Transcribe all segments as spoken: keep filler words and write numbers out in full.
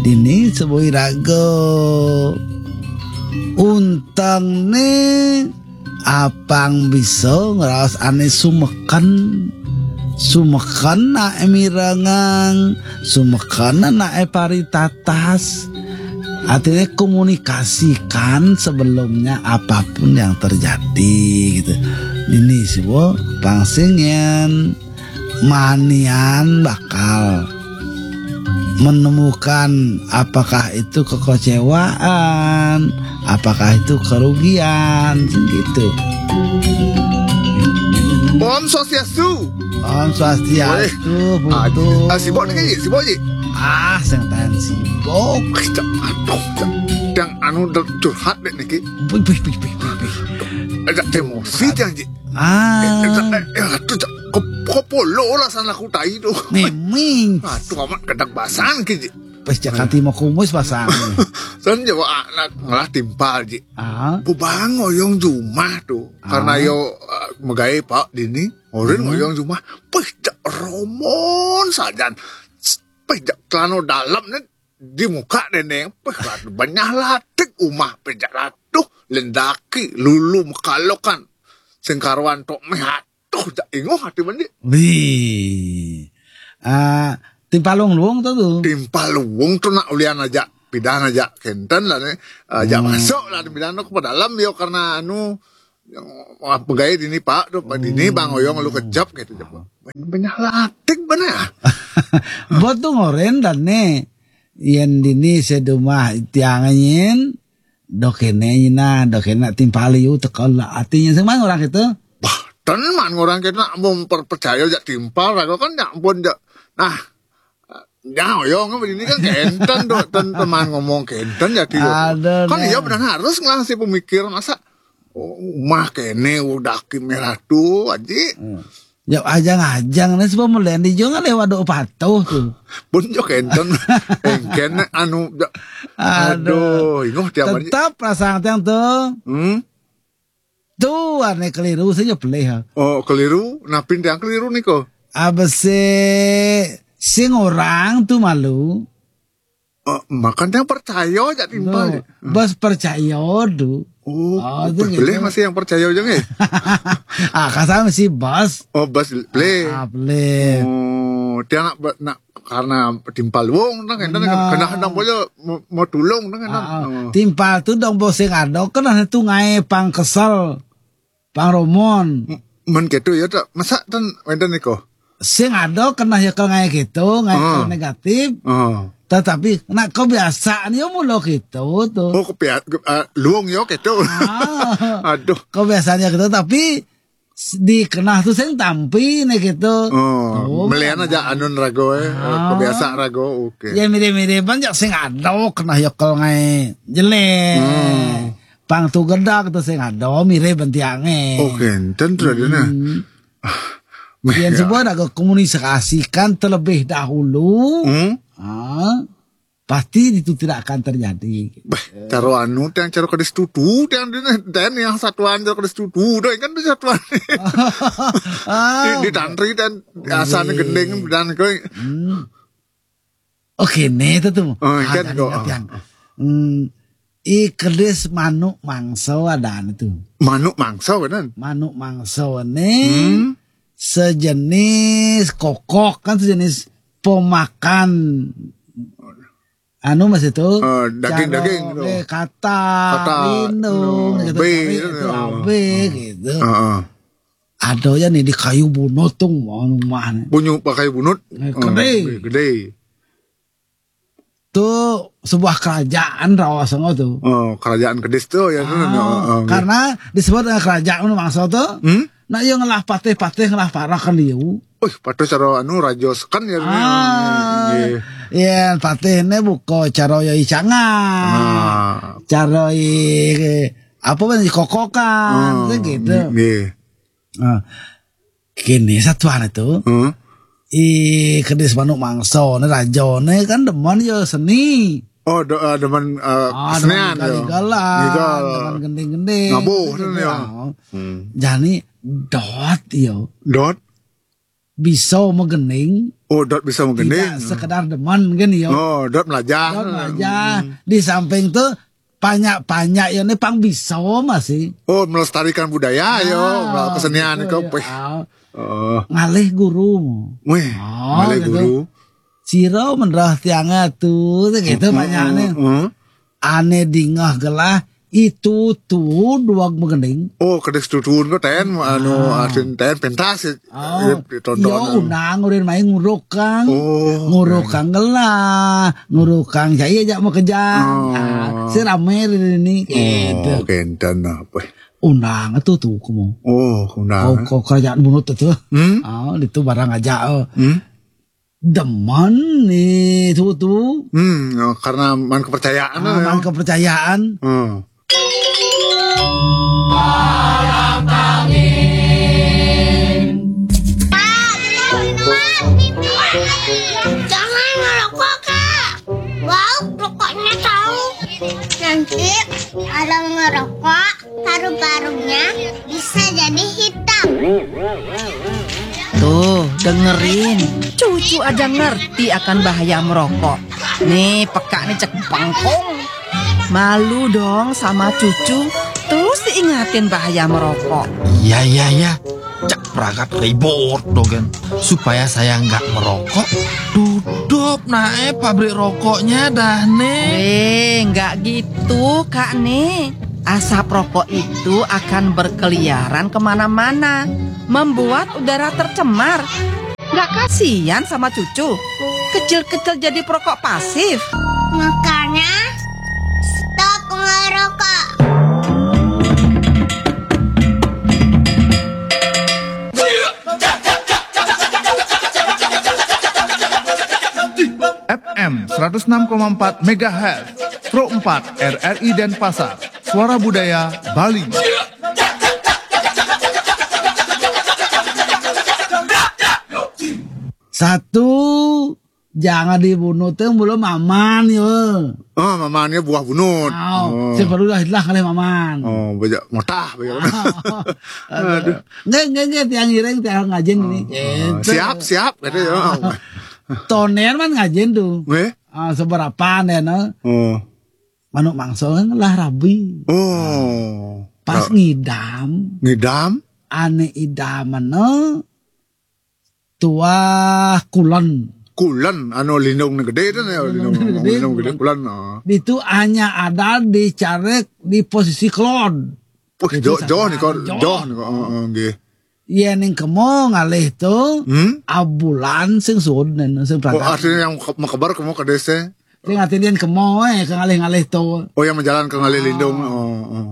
Ini sebui raga. Untengné apang bisa ngraos ané sumeken. Sumeken naé mirengang, sumeken naé paritatas. Artinya komunikasikan sebelumnya apapun yang terjadi gitu. Ini sih, Bu, pang sing yén manian bakal menemukan apakah itu kekecewaan, apakah itu kerugian, gitu. Om Swastiastu. Om Swastiastu, Ah, Putu. ah, sibuk niki, sibuk, Ji. Ah, sing tahan sibuk. Aduh, yang anu curhat dek niki. Pih, pih, pih, pih, pih, pih. Agak emosi tiang, Ji. Ah, Eh, eh, aduh, Cak. Kep- kepolo lah sana aku tai tuh. Miming. Aduh, amat kadang basang ki, Ji. Pas cak kanti mau kumis pasang. San jawa anak ngelah timpal, Ji. Ah, Bubang ngoyong jumah tuh. Karena Ah. yo, eh, megai Pak dini, orang Hmm. ngoyong jumah. Pih, Cak, romon sajan. Pih, Cak, celana dalam nih di muka dene. Pih, aduh, banyak latik umah, Pih, Cak, aduh, lendaki lulu mekalokan. Sing karuan tok meh, aduh, Cak, ingoh hati mandi. Wih. Ah, timpal luung-luung tuh tuh. Timpal luung tuh nak ulian aja, pidan aja kenten lah nih. Aja Hmm. masuk lah, pidan tuh ke dalam yo karena anu, yang, ah, pegawai dini Pak tuh, Pak dini Bang Oyong lu kejap gitu, Cak. Banyak latik mana? Buat tuh ngoren dan nih. Yen dini sedumah tiang nyin. Dok kene nyina, dok kene timpal liu tekel lah. Artinya sing mana orang itu? Bah, ten man orang kita nak mau percaya jak timpal, aku kan nyak pun jak. Nah, ya, yo, ini kan kenten tuh, ten teman ngomong kenten jadi. Ada Kan dah. Iya benar harus ngelah si pemikiran, masa, oh, umah kene udah ki merah tuh, Aji. Ya ajang-ajang nih sebab melendi juga lewat doa patuh tuh. Pun jo kenten. Engken anu, jak. Aduh. Aduh, ingoh tiap hari. Tetap perasaan tiang tuh. Hmm? Tuh aneh keliru saja pelih. Oh, keliru. Napin tiang keliru nih kok. Abis si sing orang tuh malu. Oh, makan tiang percaya jak timpal. Tuh, bos percaya tuh. Oh, Oh, itu boleh gitu. Masih yang percaya aja nih. Ah, kasar si bos. Oh, bas play. Ah, pelih. Oh, tiang nak, nak karena timpal wong nang enten Benar. kena nang boyo mau, mau tulung nang enten. Ah, Oh. Timpal tuh dong bos sing ada kena tuh ngai pang kesel. Pang romon. M- Men gitu ya tak. Masa ten wenten niko. Sing ada kena ya kalau ngai gitu, ngai Ah. kalau negatif. Oh. Tetapi nak kebiasaan ya mula gitu tuh. Oh, kepiat, ke, ah, luung yo gitu. Ah, Aduh. Kebiasaannya gitu tapi s- dikenah tuh sing tampi nih gitu. Oh, Oh, melian aja anun rago eh. Ah. Kebiasa rago, oke. Ya mirip-mirip aja sing ada kena ya kalau ngai jelek. Pang tuh gedak tuh sing ada mirip bentiange. Oke, enten tuh ada nah. Hmm. Yang sebuah ada komunikasikan terlebih dahulu. Hmm? Ah, pasti itu tidak akan terjadi. Bah, caro anu tiang caro kedis tutu tiang dene den yang satuan caro kedis tutu deh kan tuh satuan. Ah, Di, di tantri dan asane gending dan kowe. hmm. Oke, nih itu tuh. Oh, Ah, kan tadi kok. ngerti yang. Hmm, i kedis manuk mangso ada itu. Manuk mangso bener. Manuk mangso nih Hmm. Sejenis kokok kan sejenis pemakan anu mas itu. Eh, daging-daging Caro, gitu. Eh, katak, Katak, lindung, no, gitu, be, tapi gitu. Itu abe gitu. Heeh. Ada ya nih di kayu bunut tuh mau rumah nih. Bunyu pakai bunut. Eh, gede. Eh, gede. Tuh sebuah kerajaan rawasan tuh. Oh, kerajaan kedis tuh ya. Ah, Heeh, heeh. Karena disebut dengan kerajaan mangsa tuh. Hmm? Nah, yang ngelah patih-patih ngelah parah kan dia. Wih, patih cara anu raja seken ya. Ah, Iya. ya patih ini buka cara ya icangan. Ah. Cara i apa kan kokokan Oh, gitu. Iya. Nah, kini satuan itu Heeh. i kedis manuk mangsa nih raja nih kan demen ya seni. Oh, do, eh, demen eh, Ah, kesenian demen ya. galan, Gigal. demen gending-gending. Ngabuh Gitu ya. ya. Hmm. Jani dot yo. Dot. bisa magending. Oh, dot bisa magending. Tidak sekedar demen kan ya. Oh, dot melajah. Dot melajah. Hmm. Di samping tuh panyak-panyak ya ini pang bisa masih. Oh, melestarikan budaya ya, nah, kesenian gitu, itu ya. Wih. Oh. Ngalih guru. Wih, oh, ngalih gitu. Guru. Sira menrah tiang atu gitu, hmm, panyakne. Hmm, hmm. Ane dingah gelah itu tuh dua magending. Oh, kedis tutun kok ten anu, ah, asin ten pentas ya. Oh, ya, ditonton. Yo, anu. Unang urin main ngurukang. Oh, ngurukang gelah, ngurukang saya ajak mau kejang. Oh. Ah, si rame ini gitu. Oh, kenten apa? Unang tuh tuh kamu. Oh, unang. Oh, kok kerajaan bunut tuh. Hmm? Ah, itu barang aja. Oh. Hmm? Demen nih tuh tuh. Hmm, oh, karena man kepercayaan. Ah, ya. Man kepercayaan. Hmm. Jangan ngerokok, Kak. Bau rokoknya tahu. Nanti ada ngerokok, paru-parunya bisa jadi hitam. Tuh, dengerin. Cucu aja ngerti akan bahaya merokok. Nih, peka nih cek bengkong. Malu dong sama cucu. Terus diingatin bahaya merokok. Iya, iya, iya. Cek perangkat ribut dogen. Supaya saya nggak merokok, tutup nae pabrik rokoknya dah, nih. Eh, nggak gitu, Kak, nih. Asap rokok itu akan berkeliaran kemana-mana, membuat udara tercemar. Nggak kasihan sama cucu? Kecil-kecil jadi perokok pasif. Makanya, stop ngerokok. F M seratus enam koma empat megahertz, Pro empat R R I Denpasar, Suara Budaya Bali. Satu, jangan dibunuh tuh belum aman ya. Oh, mamannya buah bunut. Oh, oh. Saya baru lah, lah kali maman. Oh, banyak motah, banyak. Oh, aduh. Nggak, nggak, nggak, tiang ireng, tiang ngajin ini. Oh, gitu. Siap, siap, gitu ya. Tonen man ngajin tuh. Eh? Ah, seberapa nih, nah? Oh. Manuk mangso kan lah rabi. Oh. Pas ra- ngidam. Ngidam? Ane idam mana? Tuah kulen. Kulen, anu lindung gede itu ya, lindung, lindung gede, lindung gede kulen. Oh. Itu hanya ada di carik di posisi kelon. Wih, itu jauh, jauh nih kok, jauh nih kok. Heeh, nggih. Iya ning kemo ngalih tuh. Hmm? Abulan sing suud nen sing. Oh, berangkat. Artinya yang ke- mekebar kemo ke desa. Sing artinya yang kemo eh ke ngalih-ngalih tuh. Oh, yang menjalan ke ngalih lindung. Oh, oh.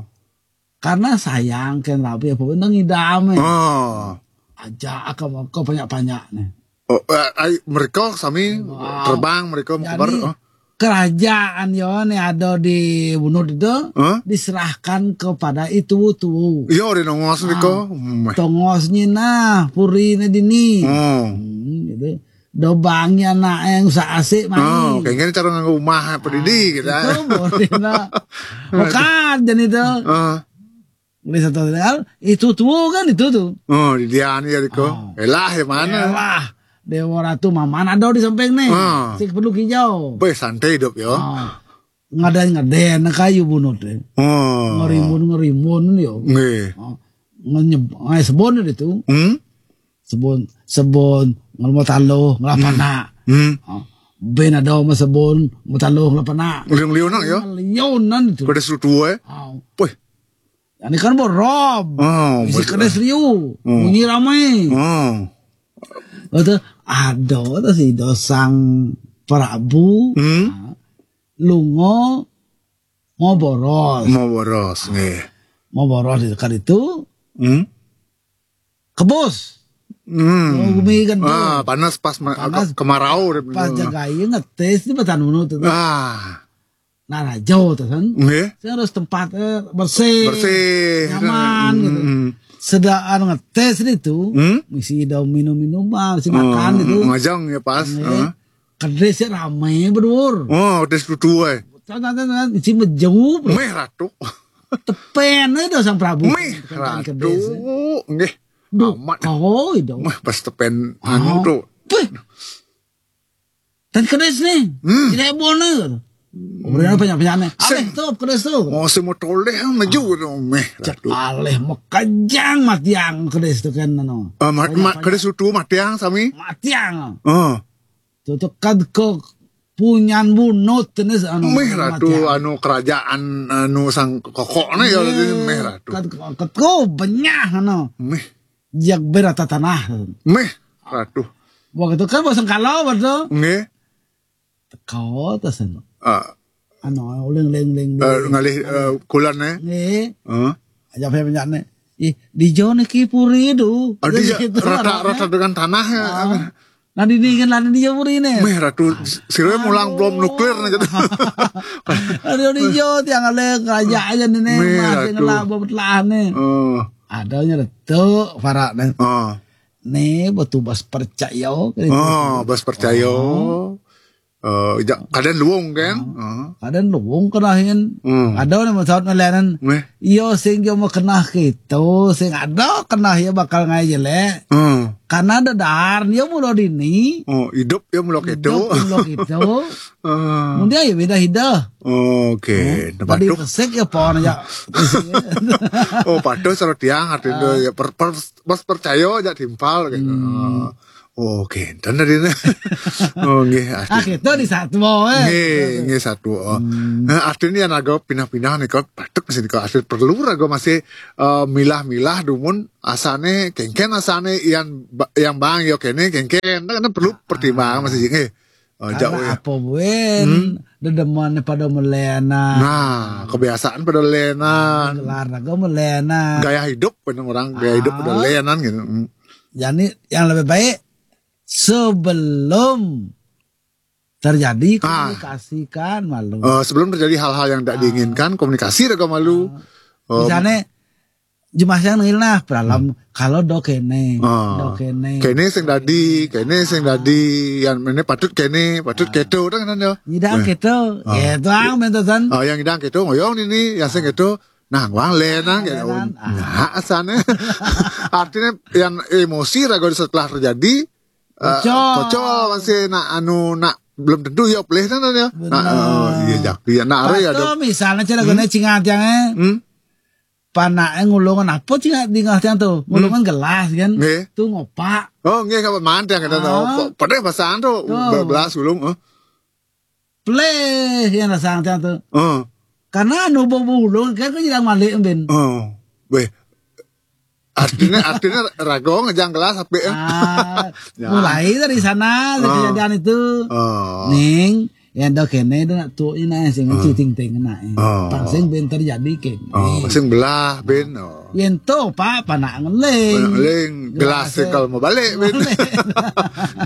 Karena sayang kan rabi apa bener ngidam eh. Oh. Aja ke mau ke banyak-banyak nih. Oh, eh, ai, mereka sami terbang, mereka mau kebar. Jadi, oh. Kerajaan yo nih ada di Bunut itu. Hah? Diserahkan kepada itu tuh. Iya, udah nongos nih kok. Hmm. Tongos nyina puri ne dini. Oh. Hmm, gitu. Dobangnya anak yang usah asik mani. Oh, kayaknya cara nganggo rumah apa didi gitu. Itu boleh nak. Bukan jadi itu. Ah. Ini satu hal, itu tuh kan itu tuh. Oh, di dia nih ya, Riko. Oh. Elah, yang mana? Elah, Dewa Ratu Maman ada di samping nih. Ah. Sik perlu kijau. Boy, santai hidup ya. Oh. Ngadain-ngadain kayu bunut deh. Oh. Ngerimun-ngerimun yo. Nggih. Oh. Ngenyeb, ngai sebon itu. Hmm? Sebon, sebon, ngelmo talo, ngelapana. Hmm. Oh. Ben ada sama sebon, ngelmo talo, ngelapana. Liung-liunan ya? Liunan itu. Pada sutu eh. Oh. Wih. Ini kan borop. Oh, isi betul. Kedes liu. Hmm. Bunyi ramai. Hmm. Itu ada tuh si dosang Prabu. Hmm. Nah, lungo mau boros. Mau boros, nggih. Mau boros di dekat itu. Hmm. Kebus. Hmm. Mau gumi kan tuh. Ah, panas pas ma- panas. Kemarau. Pas jagai ngetes di batan unu tuh. Ah. Nah, rajo tuh kan. Nggih. Saya harus tempat eh, bersih. Bersih. Nyaman gitu. Hmm. Sedaan ngetes itu, hmm? Misi daun minum-minuman, misi makan gitu. Ngajang ya pas. Nggih. Heeh. Kedis ya rame berdua. Oh, kedis tutu eh. Tan, tan, tan, tan, isi mejeu, bro. Meh ratu. Tepen itu sang Prabu. Meh ratu. Kedis, eh. Nggih. Duh, amat. Kau itu. Mah, pas tepen anu tuh. Peh. Tadi kedes nih. Hmm. Tidak boner. Udah apa nyapa nyane? Sing. Aleh tuh kedes tuh. Oh, semua toleh maju tuh meh. Cek ratu. Aleh mekejang matiang kedes tuh kan, no. Ah, mat, mat, kedes tuh matiang sami. Matiang. Oh. Tuh tuh kad ke punyan bunut ini anu. Meh ratu matiang. Anu kerajaan anu sang kokoknya ya. Iya. Meh ratu. Kad ke, kad ke benyah, no. Meh. Jak berata tanah. Meh ratu. Waktu itu kan bosan kalau waktu. Nggih. Teko tas anu. Ah. Anu uling uling uling. Eh, ngalih, eh, kulon, eh. Nggih. Heeh. Aja apa banyak nih. Ih, di Jone ki puri du. Ah, dia gitu, rata, rata dengan tanah, ya. Ah. Nah, di ini kan ada di Jone puri nih. Meh ratu, sirwe mulang bom nuklir nih gitu. Aduh, di Jone tiang ada kerajaan ini nih, meh masih ratu. Ngelabo betlah nih. Oh. Adanya retuk parak nih. Oh. Nih, betul bas percaya gitu. Oh, bas percaya. Oh. Eh, ja-, kadén luung kan? Heeh. Kadén luung kenahin. Hmm. Ada orang masalah melenan. Meh. Iyo sing yo mau kenah gitu, sing ada kenah ya bakal ngai jelek. Hmm. Karena ada dar dia mula dini. Oh, hidup ya mula gitu. Hidup mula gitu. Heeh. Kemudian ya beda hidah. Oke. Hmm. Nah, tadi batuk. Pesek ya pohon ya. Oh, patuh seru tiang artinya ya per, per, pas percaya aja timpal gitu. Hmm. Heeh. Oh, kénten tadi nih. Oh, nggih, ah, arti gitu di satu, eh. Nggih, nggih, satu. Oh. Hmm. Nah, artinya yang agak pindah-pindah nih, kalau batuk sih, kalau arti perlu raga masih, eh, milah-milah dumun asane, kéngkén asane yang ba-, yang bang yo kéné kéngkén. Kan perlu pertimbangan masih nggih. Oh, karena jauh ya. Apa buen, hmm? Dedeman pada melenan. Nah, kebiasaan pada lenan. Gelar raga melenan. Gaya hidup, bener orang gaya hidup pada lenan gitu. Hmm. Jadi yang lebih baik sebelum terjadi komunikasikan malu. Eh, sebelum terjadi hal-hal yang tidak diinginkan, komunikasi raga malu. Eh, misalnya, jemaah yang nengil nah, pralam, kalau do kéné, do kéné. Kéné sing dadi, kéné sing dadi, yang ini patut kéné, patut kéto, kan, kan, ya. Nyidang kéto, kéto ang, bentosan. Oh, yang nyidang kéto, ngoyong ini, yang sing kéto, nah, wang lenan, gitu. Lenan, ah. Nah, asane. Artinya, yang emosi raga setelah terjadi, eh, pocol. Pocol masih nak anu, nak belum tentu ya pelih kan ya. Benar. Nah, eh, iya, jak, iya, nak, are ya, patuh dok. Misalnya cara guna cingat yang, eh. Hmm? Panake ngulungan apa cingat di ngah tiang tuh? Ngulungan gelas kan? Nggih. Tuh ngopak. Oh, nggih, kapan mantan kita tahu. Ah. Padahal bahasaan tuh, tuh. Belas ulung, eh. Pelih yang rasa tiang tuh. Heeh. Karena anu bau ulung kan kok jadi malik, Ben. Oh, weh. Artinya, artinya raga ngejang gelas apik, eh. Ah, ya. Mulai dari sana, dari kejadian itu. Oh. Ning, yang do kéné do nak tuh ini sing citing ting nak. Oh. Pang sing ben terjadi kéné. Oh, sing belah, Ben. Oh. Yen to, Pak, panak ngeling. Panak ngeling, gelas gelas, eh, kalau mau balik, Ben. Balik.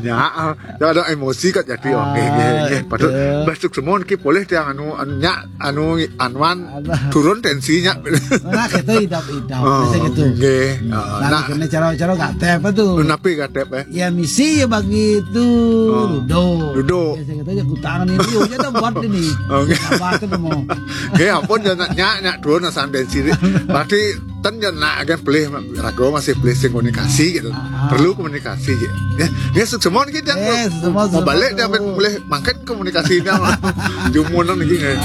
Ya, ah, ya ada emosi kat jadi. Ah, oke, oke, oke. Patut betul. Besok semua ki boleh tiang anu, anu, nyak, anu, anuan, alah, turun tensinya. Nah, kita idap-idap, oh, biasa gitu. Oke. Ah, nah, nah, kena cara-cara gatep apa tuh? Napi gatep, eh? Ya, misi ya bagi itu. Oh. Ludo. Ludo. Biasa kita aja kutangan ini, ya udah buat ini. Oke. Apa tuh mau? Oke, ampun, ya, nak, nyak, nyak, turun, nah, sampai sini. Berarti, ten, ya, nak, kan pelih, raga masih pelih sing komunikasi gitu. Ah. Perlu komunikasi gitu. Ya, ya, sukses semua kita. Eh, sukses semua, mau sukses balik, dia semua. Ambil pelih, makin komunikasinya. Jumunan lagi, ya.